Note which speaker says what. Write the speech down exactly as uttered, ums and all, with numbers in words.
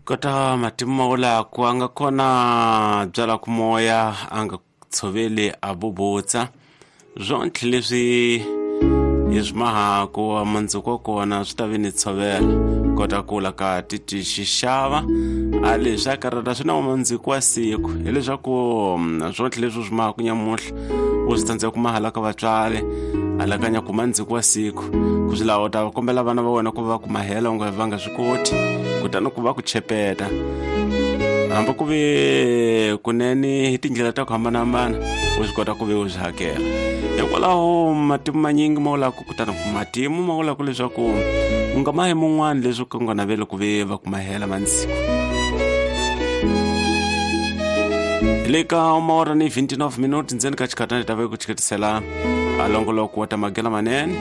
Speaker 1: Kota matimu mawulaku a nga kona byala ku moya a nga tshoveli a bubutsa swontlhe leswi hi swi mahaku mundzuku wa kona swi ta vi ni tshovela kota kula ka titi xixava a leswi a karata swi na mundzuku wa siku hileswaku swontlhe leswi swi mahaku nyamuhla u swi tsandzeka ku mahala ka vatswari alakanya ku mundzuku wa siku ku swi laha u ta kombela vana va wena ku va ku mahela u nga va nga swi koti kutani ku va ku chepeta hambi ku ve kunene hi tindlela ta ku hambanahambana u swi kota ku ve u swi hakela hikwalaho matimu manyingi ma vulaku kutani matimu ma vulaku leswaku u nga mahi mun'wani leswi ku nga naveli ku ve va ku mahela mansiku le ka maora ni twenty-nine minutes ndzeni ka xikhatana hi ta ve ku chiketisela a longoloko wa ta magela manene